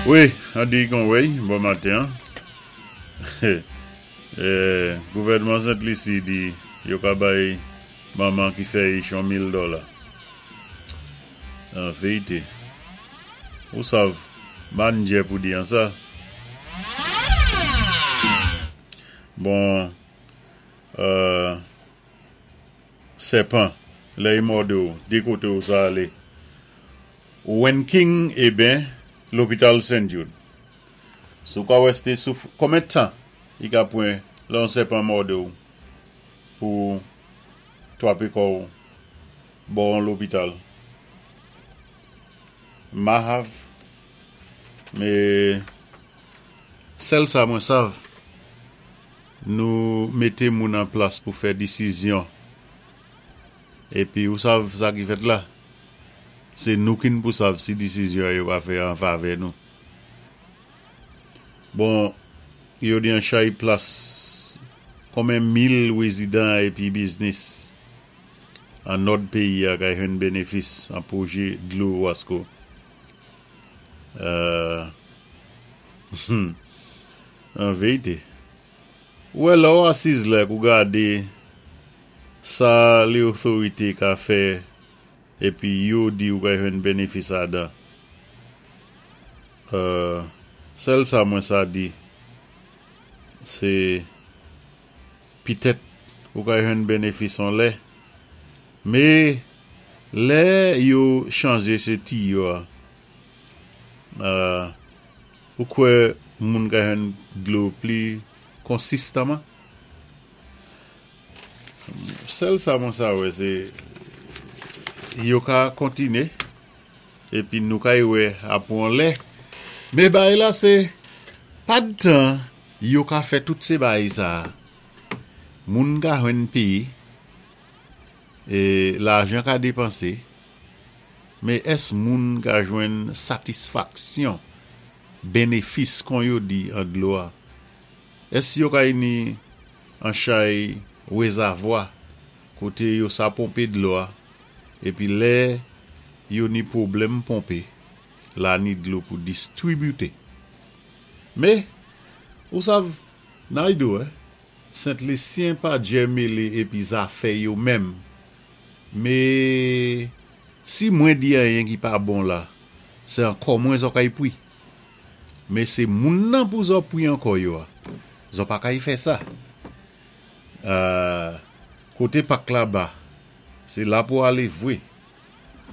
Wi, an di kon wey, bon maten. Gouvèdman Sent Lisi di yo ka bay manman ki fè ich on 1000 dola. An véyité, ou sav, mannjè pou di an sa. Bon, sèpan, lè i mòdé ou, di koté ou sa alé? Wenking eben lopital St. Jude. Si ou ka wè sé sou konmen tan i ka pwan lè on sèpan mòdé ou pou twapé kò ou bò on lopital? Mahav, mé sèl sa mwen sav, nou mété moun an plas pou fè disizyon épi ou sav sa ki fèt la? Sé nou ki-n pou sav si disizyon yo ka fè an favè nou. Bon, yo di an chay plas konmen mil wézidan épi biznis an nòd péyi a kay jwenn bénéfis an pwojé dlo Wasko. An véyité, ou wè lè ou asiz la pou gadé sa lé otorité ka fè épi yo di ou kay jwenn bénéfis adan. Sèl sa mwen sa di, sé pitèt ou kay jwenn bénéfis on lè, mé lè yo chanjé sé tiyo a, ou kwè moun ka jwenn dlo pli konsistaman? Sèl sa mwen sa wè sé yo ka kontiné épi nou kay wè apou on lè, mé bagay la sé padtan yo ka fè tout sé bagay sa, moun ka jwenn péyé, é lajan ka dépansé, mé ès moun ka jwenn satisfaksyon, bénéfis kon yo di an dlo a? Ès yo kay ni an chay wézavwa koté yo sa ponpé dlo a épi lè yo ni pwoblèm ponpé la ni dlo pou distribité? Mé, ou sav, nay di ou, Sent Lisyen pa djè mélé épi zafè yo menm, mé si mwen di anyen ki pa bon la, sé ankò mwen zò kay pwi. Mé sé moun nan pou zò pwi ankò yo a. Zò pa kay fè sa. Koté pak la ba, sé la pou alé vwé.